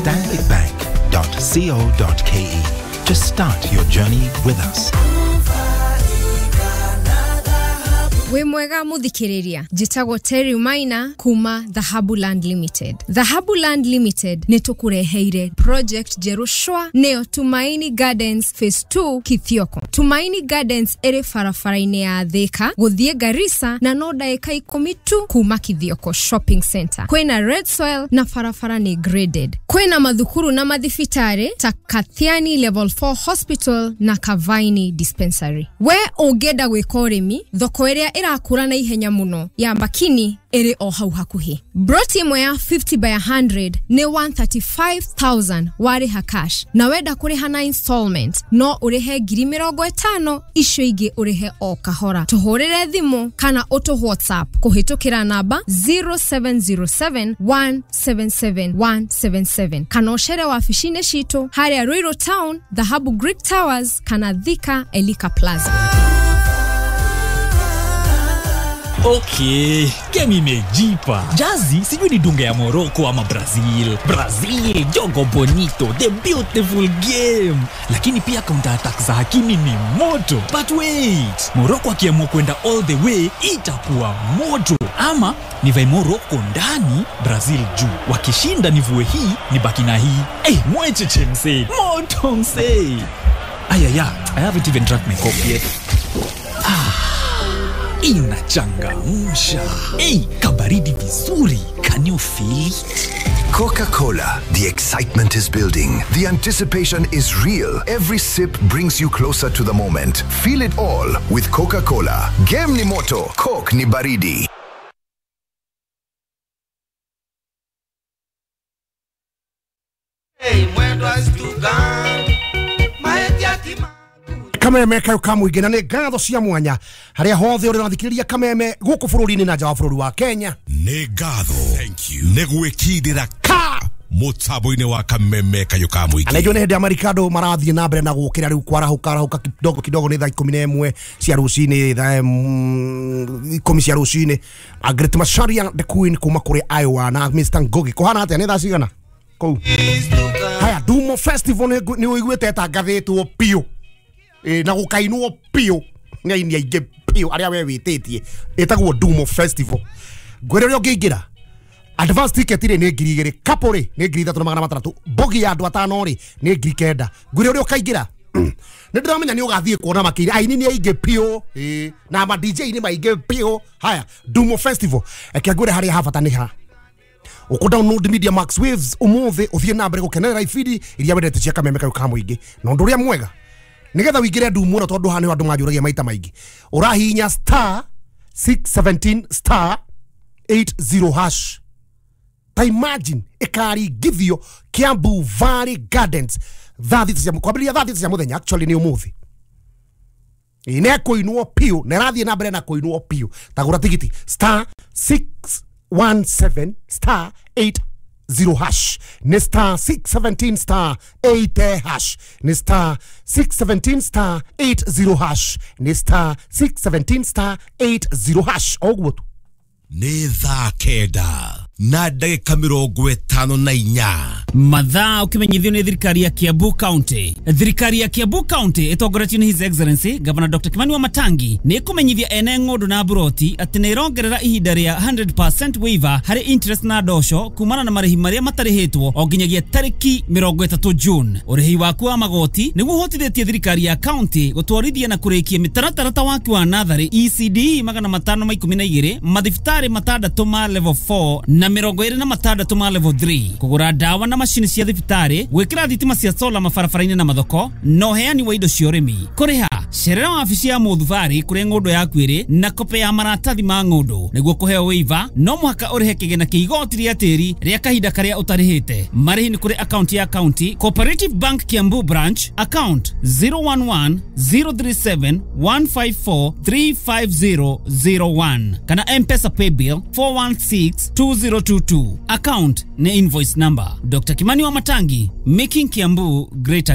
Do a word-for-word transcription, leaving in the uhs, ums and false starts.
stanbicbank dot co dot k e to start your journey with us. Wĩ mwega mũthikĩrĩria, njĩtagwo Terry Maina kuma Dhahabu Land Limited. Dhahabu Land Limited nĩ tũkũreheire project njerũ shwa, nĩyo Tumaini Gardens Phase two Kithioko. Tumaini Gardens ĩrĩ barabara-inĩ ya Thika gũthiĩ Garissa na no ndagĩka ikũmi tu kuma Kithioko Shopping Center. Kwĩna red soil na barabara nĩ graded. Kwĩna mathukuru na mathibitarĩ ta Kathiani Level four Hospital na Kavaini Dispensary. We ũngĩenda gwĩka ũrĩmi, thoko ĩrĩa ĩrakũra na ihenya mũno ya Makini ĩrĩ o hau hakuhĩ. Broti ĩmwe ya fifty by a hundred nĩ one thirty-five thousand warĩha cash, na wenda kũrĩha na installment no ũrĩhe ngiri mĩrongo ĩtano, icio ingĩ ũrĩhe o kahora. Tũhũrĩre thimũ kana ũtũ WhatsApp kũhĩtũkĩra namba zero seven zero seven one seven seven one seven seven kana ũcere wabici-inĩ citũ harĩa Ruiru Town, Dhahabu Greek Towers kana Thika Elika Plaza. Okay, game imejipa. Jazi sijui ni dunga ya Morocco ama Brazil. Brazil, jogo bonito, the beautiful game. Lakini pia counter attack za Hakimi ni moto. But wait, Morocco akiamua kwenda all the way itakuwa moto. Ama nivae Morocco ndani, Brazil juu. Wakishinda nivue hii, nibaki na hii. Eh, hey, mwecheche msee. Moto msee. Ayaya, I haven't even drank my coffee yet. Ah. Inachangamsha. Hey, kabaridi vizuri. Can you feel it? Coca-Cola. The excitement is building. The anticipation is real. Every sip brings you closer to the moment. Feel it all with Coca-Cola. Game ni moto, Coke ni baridi. Hey, Kameme kayo kamũingĩ na nĩ ngatho cia mwanya harĩa hothe ũrĩ ũrathikĩrĩria Kameme gũkũ bũrũri-inĩ na nja wa bũrũri wa Kenya. Nĩ ngatho nĩ gwĩkindĩra ka mũtambo-inĩ wa Kameme kayo kamũingĩ. Na nĩ hĩndĩ ya Marikado marathiĩ na mbere na gũkĩra rĩu kwarahũka arahũka kidogo kidogo nĩ thaa ikũmi na ĩmwe cia rũcinĩ, thaa ikũmi cia rũcinĩ. Margaret Macharia the Queen kuma kũrĩ Iowa na Mister Ngugi. Kũhana atĩa nĩ thaa cigana kũu? Haya, Dumo Festival nĩ ũiguĩte ĩtangathĩtwo biũ e, na gukainwo piũ nĩ aini aingĩ piũ arĩa we wĩtĩtie. Ĩtagwo Dumo Festival. Ngwĩre ũrĩa ũngĩingĩra, advance ticket rĩ nĩ ngiri igĩrĩ, couple rĩ nĩ ngiri ithatũ na magana matandatũ, bogi ya andũ atano rĩ nĩ ngiri kenda. Ngwĩre ũrĩa ũkaingĩra, nĩ ndĩramenya nĩ ũgathiĩ kuona makĩria aini nĩ aingĩ piũ na ma D J nĩ maingĩ piũ. Haya, Dumo Festival eke ngwĩre harĩa habata nĩ ha uku download Media Max Waves umuthi uthie na mbere gukenerera ibindi iria wendete cia Kameme kayo ka mũingĩ. Na ũndũ ũrĩa mwega nigetha wingire Dumo tondu haha nĩ andũ manjũragia maita maingĩ, ũrahihinya star six seventeen star eight zero hash. Ta imagine ĩkaringithio Kiambu Valley Gardens thaa thita cia kwambĩrĩria thaa thita cia mũthenya, actually nĩ ũmũthĩ. Ĩ kũinwo piũ na ĩrathiĩ na mbere na kũinwo piũ. Tagũra tigiti star six one seven star eight zero hash, ni star six seventeen star eight hash, ni star six seventeen star eight zero hash, ni star six seventeen star eight zero hash. Oguo tu ni thaa kenda na ndagĩka mĩrongo ĩtano na inya. Mathaa ũkĩmenyithio nĩ thirikari ya Kiambu County. Thirikari ya Kiambu County ĩtongoretio nĩ His Excellency Governor Doctor Kimani Wamatangi nĩ ĩkũmenyithia ene ng'ũndũ na mburoti atĩ nĩ ĩrongerera ihinda rĩa hundred percent waiver harĩ interest na ndosho kumana na marĩhi marĩa matarĩhĩtwo o nginyagia tarĩki mĩrongo ĩtatũ June. Ũrĩhi waku wa magoti nĩguo ũhotithĩtie thirikari ya county gũtwarithia na kũrĩkia mĩtaratara ta waki wa natharĩ E C D magana matano ma ikũmi na igĩrĩ, mathibitarĩ matandatũ ma level four na mĩrongo ĩrĩ na matandatũ ma level three, kũgũra ndawa na macini cia thibitarĩ, gwĩkĩra thitima cia sola mabarabara-inĩ na mathoko, na ũheani wa indo cia ũrĩmi. Kũrĩha cerera wabici ya mũthubarĩ kũrĩa ng'ũndũ yaku ĩrĩ na kope ya maratathi ma ng'ũndũ. Nĩguo kũheo waiver no mũhaka ũrĩhe kĩgĩna kĩa igoti rĩa tĩri rĩa kahinda karĩa ũtarĩhĩte. Marĩhi nĩ kũrĩ akaunti ya county Cooperative Bank Kiambu branch account zero one one zero three seven one five four three five zero zero one kana M-Pesa paybill four one six two zero two two. Account ni invoice number. Doctor Kimani Wamatangi, making Kiambu great again.